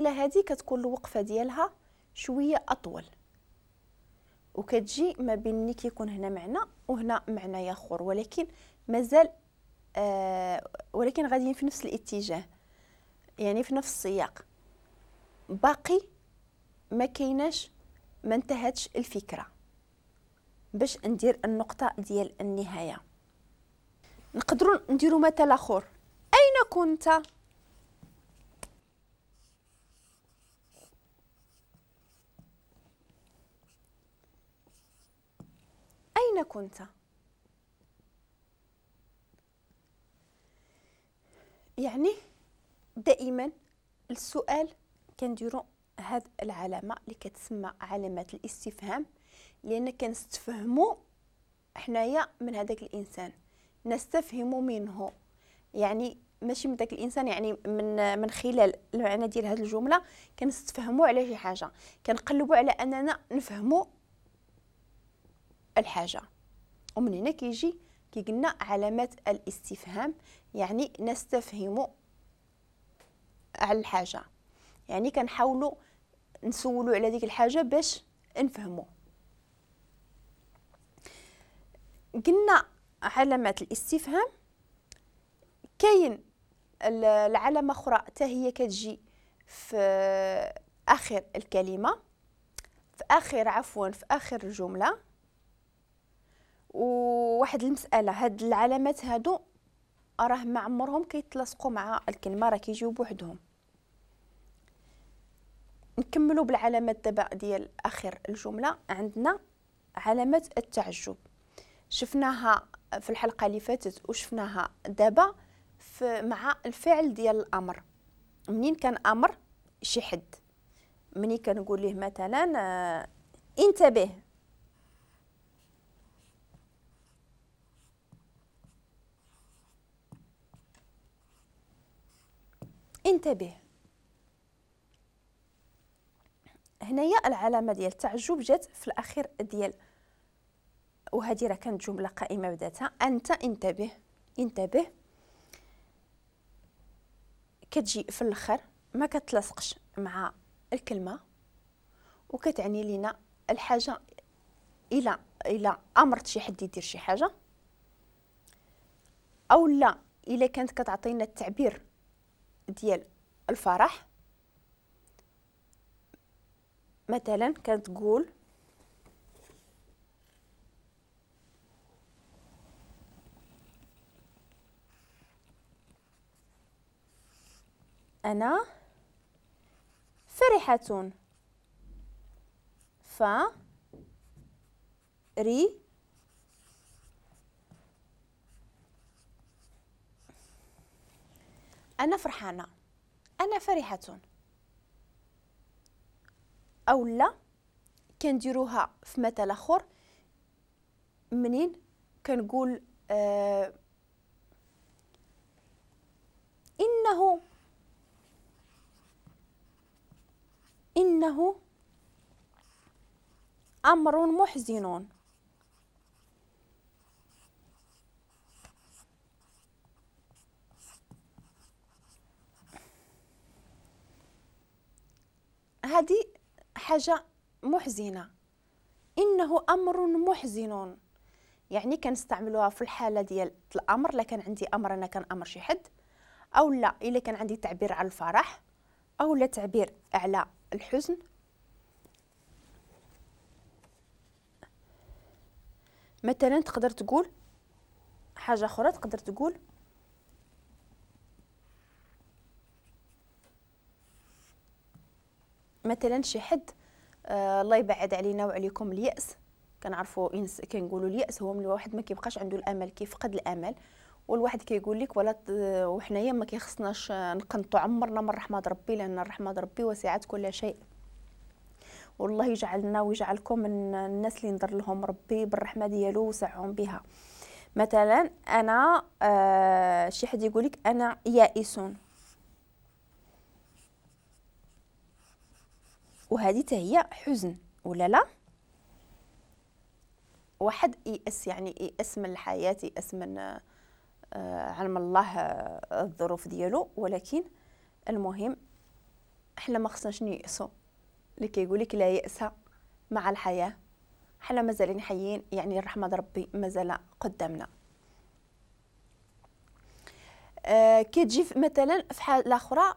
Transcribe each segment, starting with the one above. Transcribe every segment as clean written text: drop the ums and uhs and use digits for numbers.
هذه كتكون الوقفة ديالها شوية اطول، وكتجي ما بين اللي كيكون هنا معنى وهنا معنى اخر، ولكن مازال ولكن غاديين في نفس الاتجاه، يعني في نفس السياق، باقي ما كايناش، ما انتهتش الفكرة باش ندير النقطة ديال النهاية. نقدروا نديروا مثال اخر. اين كنت؟ أين كنت؟ يعني دائما السؤال كنديرو هاد العلامة اللي كتسمى علامة الاستفهام، لأن كنستفهمو حنايا من هذاك الإنسان، نستفهم منه، يعني ماشي من داك الإنسان، يعني من خلال المعنى ديال هاد الجملة كنستفهمو على شي حاجة، كنقلبو على أننا نفهمو الحاجة. ومن هنا كيجي كي قلنا علامات الاستفهام، يعني نستفهم على الحاجة، يعني كنحاولوا نسولوا على ديك الحاجة باش نفهموا. قلنا علامات الاستفهام. كاين العلامة أخرى حتى هي كتجي في آخر الكلمة، في آخر عفوا في آخر الجملة. وواحد المسألة، هاد العلامات هادو راه ما عمرهم كيتلاصقوا مع الكلمة، راه كيجيو بوحدهم. نكملوا بالعلامات دابا ديال آخر الجملة. عندنا علامة التعجب، شفناها في الحلقة اللي فاتت وشفناها دابا مع الفعل ديال الأمر. منين كان أمر شي حد، منين كنقول ليه مثلا انتبه، انتبه، هنايا العلامة ديال التعجب جات في الأخير ديال، وهذه راه كانت جملة قائمة بذاتها، أنت انتبه، انتبه كتجي في الأخر، ما كتلاصقش مع الكلمة، وكتعني لنا الحاجة إلى أمرت شي حد يدير شي حاجة، أو لا إلا كانت كتعطينا التعبير ديال الفرح. مثلا كتقول أنا فرحة، ف ري أنا فرحانة، أنا فرحة. أو لا كنديروها في مثل آخر، منين كنقول إنه أمر محزن. هذه حاجة محزنة، إنه أمر محزن، يعني كنستعملوها في الحالة ديال الأمر، لا كان عندي أمر أنا كنأمر شي حد، أو لا إلا كان عندي تعبير على الفرح أو لا تعبير على الحزن. مثلا تقدر تقول حاجة أخرى، تقدر تقول مثلا شي حد الله يبعد علينا وعليكم اليأس، كنعرفوا كنقولوا اليأس هو من الواحد ما كيبقاش عنده الأمل، كيفقد الأمل، والواحد كيقول لك ولا وحنايا ما كيخصناش نقنطوا عمرنا من رحمة ربي، لأن رحمة ربي وسعت كل شيء، والله يجعلنا ويجعلكم من الناس اللي نضر لهم ربي بالرحمة ديالو وسعهم بها. مثلا أنا شي حد يقول لك أنا يائس، وهذه هي حزن ولا لا؟ واحد يأس، يعني يأس من الحياة، يأس من علم الله الظروف ديالو، ولكن المهم حنا ما خصناش نيأسو، اللي كيقول لك لا يأس مع الحياة، حنا مازالين حيين، يعني الرحمة ربي مازال قدامنا. كتجي مثلا في حالة أخرى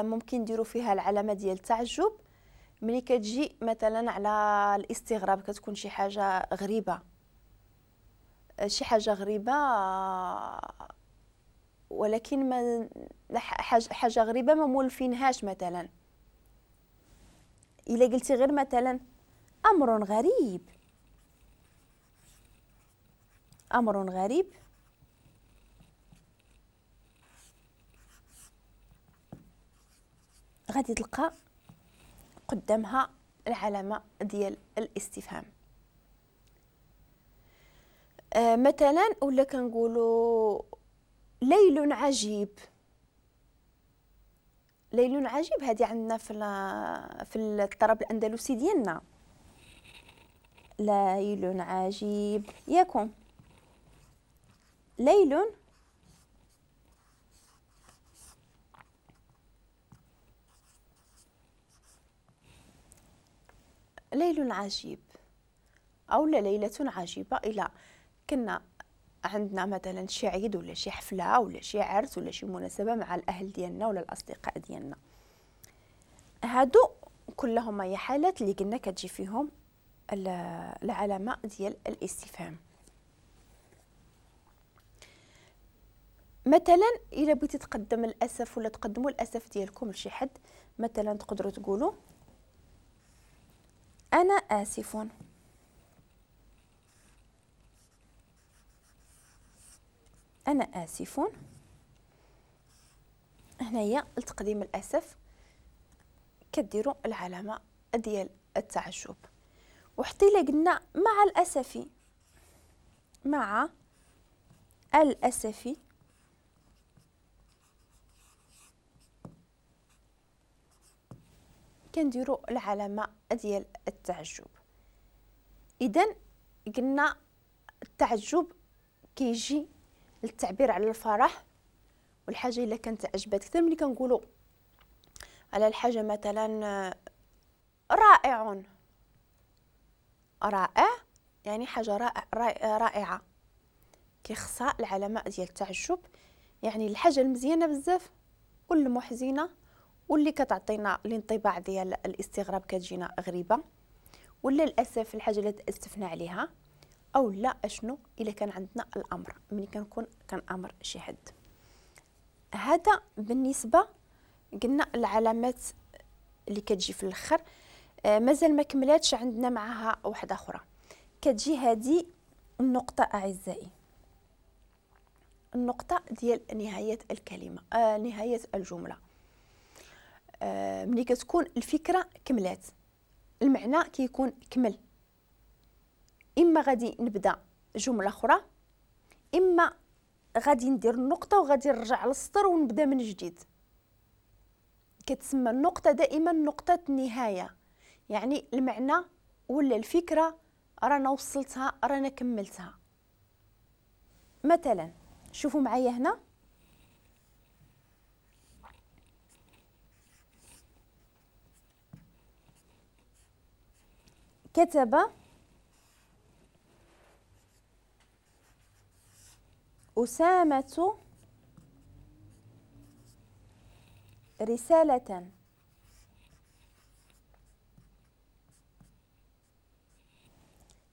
ممكن نديرو فيها العلامة ديال التعجب، ملي كتجي مثلا على الاستغراب، كتكون شي حاجة غريبة، شي حاجة غريبة ولكن ما حاجة غريبة ما مولفينهاش. مثلا إلا قلتي غير مثلا أمر غريب، أمر غريب، غادي تلقى قدامها العلامة ديال الاستفهام. مثلا ولا كنقولوا ليل عجيب، ليل عجيب هذه عندنا في الطرب الأندلسي ديالنا، ليل عجيب ياكم، ليل ليل عجيب أو لا ليلة عجيبة. إلا كنا عندنا مثلا شي عيد ولا شي حفلة ولا شي عرس ولا شي مناسبة مع الأهل ديالنا ولا الأصدقاء ديالنا، هادو كلهم هي حالات اللي قلنا كتجي فيهم العلامة ديال الاستفهام. مثلا إلا بغيتي تقدم الأسف ولا تقدموا الأسف ديالكم لشي حد، مثلا تقدروا تقولوا أنا آسف، أنا آسف. هنايا لتقديم الأسف كديروا العلامة ديال التعجب. وحتى إلا قلنا مع الأسف، مع الأسف، كنديروا العلامة ديال التعجب. إذن قلنا التعجب كيجي للتعبير على الفرح والحاجة إلا كانت عجبتك أكثر. ملي كنقولوا على الحاجة مثلا رائع، رائع يعني حاجة رائعة، كيخصها العلامة ديال التعجب، يعني الحاجة المزيانة بزاف والمحزنة واللي كتعطينا الانطباع ديال الاستغراب كتجينا غريبة، ولا الأسف الحاجة اللي تأسفنا عليها، أو لا أشنو إلا كان عندنا الأمر ملي كنكون كنأمر شي حد. هذا بالنسبة قلنا العلامات اللي كتجي في الآخر. مازال ما كملاتش، عندنا معها واحدة أخرى كتجي هذه النقطة أعزائي، النقطة ديال نهاية الكلمة، نهاية الجملة. ملي كتكون الفكرة كملات، المعنى كيكون كمل، إما غادي نبدأ جملة أخرى، إما غادي ندير النقطة وغادي نرجع للسطر ونبدأ من جديد. كتسمى النقطة دائما نقطة النهاية، يعني المعنى ولا الفكرة رانا وصلتها، رانا كملتها. مثلا شوفوا معايا هنا، كتب أسامة رسالة.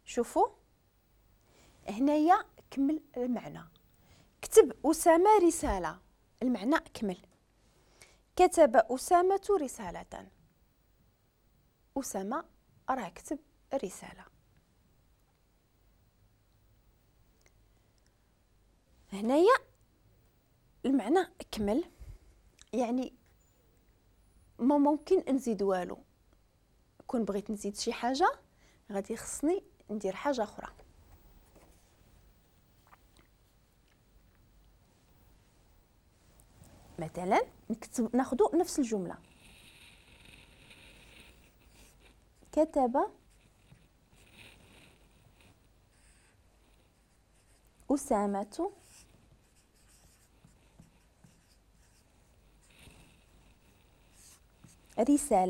شوفوا هنايا كمل المعنى، كتب أسامة رسالة، المعنى كمل. كتب أسامة رسالة، أسامة راه كتب رسالة. هنايا المعنى كمل، يعني ما ممكن نزيد والو. كون بغيت نزيد شي حاجة غادي خصني ندير حاجة أخرى. مثلا نكتب، ناخذ نفس الجملة، كتب أسامة رسالة.